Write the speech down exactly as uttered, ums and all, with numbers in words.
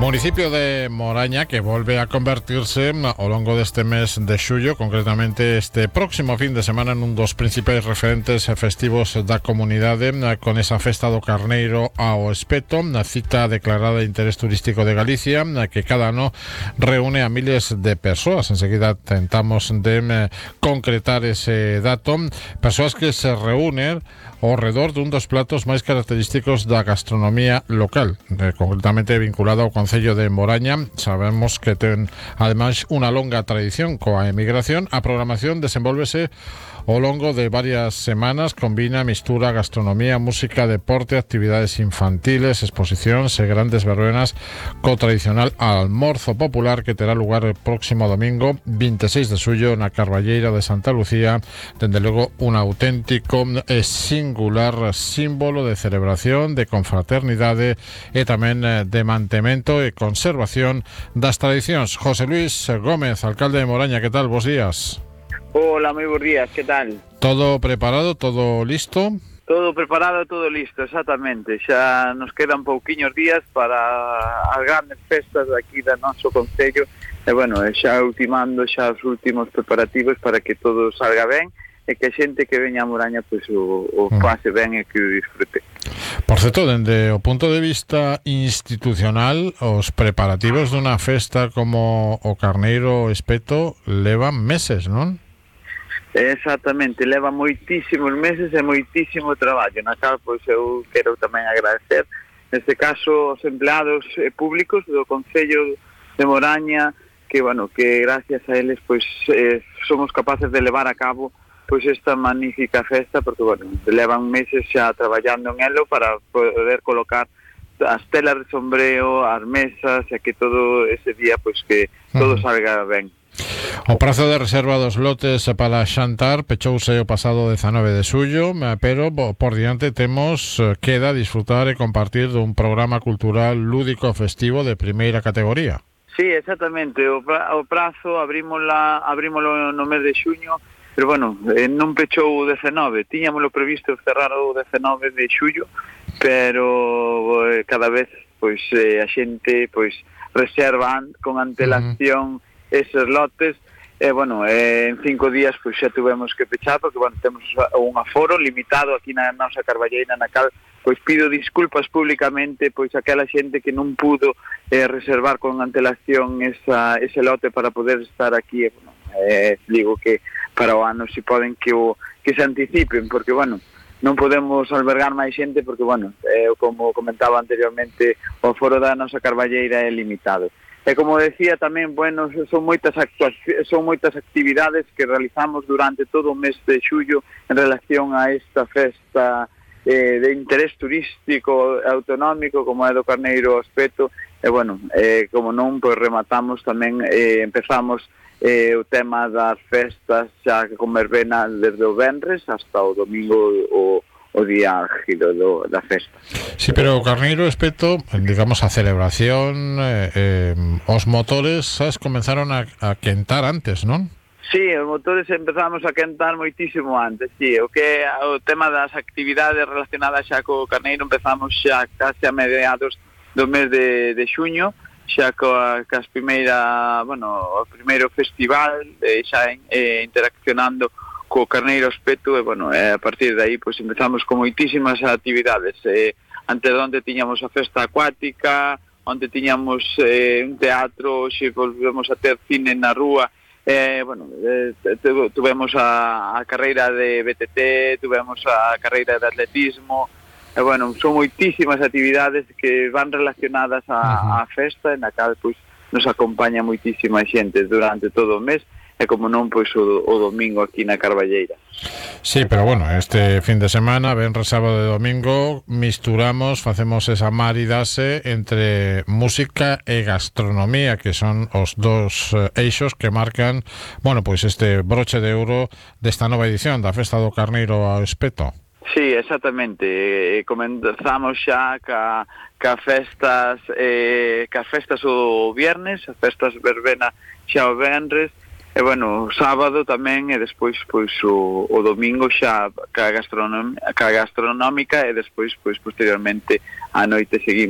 Municipio de Moraña que volve a convertirse ao longo deste mes de xullo, concretamente este próximo fin de semana, nun dos principais referentes festivos da comunidade, con esa festa do Carneiro ao Espeto, na cita declarada de interés turístico de Galicia, que cada ano reúne a miles de persoas. Enseguida tentamos de concretar ese dato, persoas que se reúnen ao redor dun dos platos máis característicos da gastronomía local, concretamente vinculado ao Concello de Moraña. Sabemos que ten ademais unha longa tradición coa emigración. A programación desenvolvese ao longo de varias semanas, combina mistura gastronomía, música, deporte, actividades infantiles, exposicións e grandes verbenas co tradicional almorzo popular que terá lugar o próximo domingo vinte e seis de xullo na Carballeira de Santa Lucía. Dende logo un auténtico e singular símbolo de celebración, de confraternidade e tamén de mantemento e conservación das tradicións. José Luis Gómez, alcalde de Moraña, que tal? Bos días. Hola, moi bons días, que tal? Todo preparado, todo listo? Todo preparado, todo listo, exactamente. Xa nos quedan pouquiños días para as grandes festas aquí da noso concello. E, bueno, xa ultimando xa os últimos preparativos para que todo salga ben e que a xente que veña a Moraña pois, o, o pase ben e que o disfrute. Por certo, dende o punto de vista institucional, os preparativos dunha festa como o Carneiro Espeto levan meses, non? Exactamente, leva moitísimos meses e moitísimo traballo, na cal pois eu quero tamén agradecer neste caso os empleados públicos do Concello de Moraña, que bueno, que gracias a eles pois eh, somos capaces de levar a cabo pois esta magnífica festa, porque bueno, levan meses xa traballando en elo para poder colocar as telas de sombreo, as mesas, e que todo ese día pois que todo salga ben. O prazo de reserva dos lotes para xantar pechouse o pasado dezanove de xullo, pero por diante temos queda disfrutar e compartir dun programa cultural lúdico festivo de primeira categoría. Sí, exactamente, o, pra, o prazo abrímola, abrímolo no mes de xuño, pero bueno, eh, non pechou o dezenove, tiñamoslo previsto cerrar o dezenove de xullo, pero eh, cada vez pois eh, a xente pois reservan con antelación uh-huh. eses lotes, e, eh, bueno, eh, en cinco días pois xa tuvemos que pechar, porque, bueno, temos un aforo limitado aquí na nosa Carballeira, na cal, pois pido disculpas públicamente, pois aquela xente que non pudo eh, reservar con antelación esa, ese lote para poder estar aquí, e, bueno, eh, digo que para o ano si poden que, o, que se anticipen, porque, bueno, non podemos albergar máis xente, porque, bueno, eh, como comentaba anteriormente, o aforo da nosa Carballeira é limitado. E como decía tamén, bueno, son moitas actuacións, son moitas actividades que realizamos durante todo o mes de xullo en relación a esta festa eh, de interés turístico autonómico como é do Carneiro Espeto. E bueno, eh, como non, pois rematamos tamén, eh, empezamos eh, o tema das festas xa con verbena desde o venres hasta o domingo o o día álgido do, da festa. Sí, pero o Carneiro Espeto, digamos, a celebración, eh, eh, os motores, sabes, comenzaron a, a quentar antes, non? Sí, os motores empezamos a quentar moitísimo antes, sí. O que o tema das actividades relacionadas xa co Carneiro empezamos xa case a mediados do mes de, de xuño, xa coa, coas primeira, bueno, o primeiro festival, eh, xa eh, interaccionando co Carneiro Espeto, e, bueno, eh, a partir de aí pois empezamos con moitísimas actividades. Eh, antes onde tiñamos a festa acuática, onde tiñamos eh, un teatro, xe volvemos a ter cine na rúa, eh, bueno, eh, tuvemos a, a carreira de B T T, tuvemos a carreira de atletismo, e, bueno, son moitísimas actividades que van relacionadas a, a festa, na cal pois nos acompaña moitísima xente durante todo o mes, e como non, pois o, o domingo aquí na Carballeira. Sí, pero bueno, este fin de semana, venres, sábado e domingo, misturamos, facemos esa maridase entre música e gastronomía, que son os dos eixos que marcan, bueno, pois este broche de ouro desta nova edición da Festa do Carneiro ao Espeto. Sí, exactamente. Comenzamos xa ca, ca festas eh, ca festas o viernes, as festas verbena xa o venres, e, bueno, o sábado tamén, e despois pois o, o domingo xa ca, gastronom, ca gastronómica, e despois pois posteriormente a noite seguimos